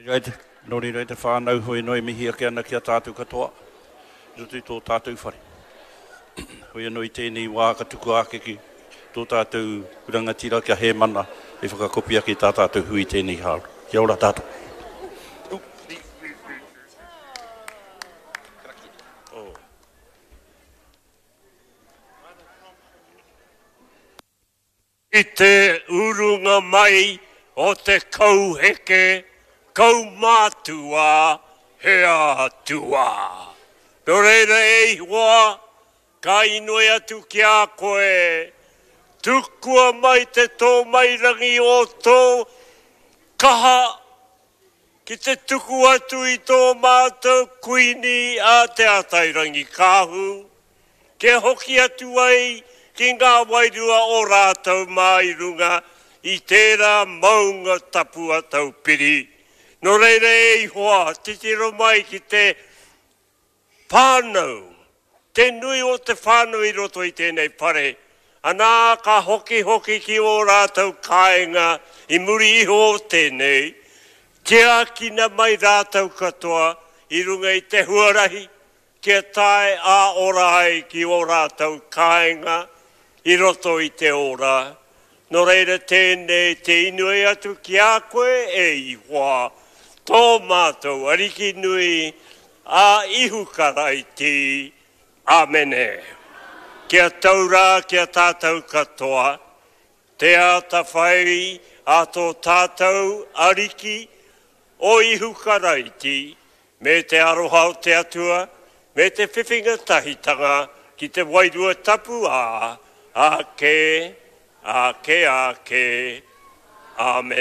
Nō reira e te whānau, hoi anō e mihi ake ana ki a tātou katoa i roto i tō tātou whare. Hoi anō i tēnei wā ka tukua ake ki tō tātou rangatira kia Hēmana e whakakopi ake i tā tātou hui i tēnei hāora. Kia ora tātou. I te urunga mai o te kauheke kaumātua he atua. Nō reira e Ihowa, ka inoi atu ki a koe, tukua mai te tōmairangi o tō kaha ki te tuku atu i tō mātou Kuini a Te Atairangikaahu, kia hoki atu ai ki ngā wairua o rātou mā i runga i tērā maunga tapu a Taupiri. Nō reira e Ihoa, titiro mai ki te whānau, te nui o te whānau i roto i tēnei whare, anā ka hokihoki ki ō rātou kāinga i muri iho o tēnei, tiakina mai rātou katoa i runga i te huarahi kia tae ā-ora ai ki ō rātou kāinga i roto i te ora. Nō reira tēnei te inoi atu ki a koe, e Ihoa, tō mātou Ariki nui, a Ihu Karaiti. Āmene. Kia tau rā ki a tātou katoa, te atawhai a tō tātou Ariki, o Ihu Karaiti, me te aroha o te Atua, me te whiwhinga tahitanga ki te Wairua Tapu ā, āke, āke, āke. Āmene.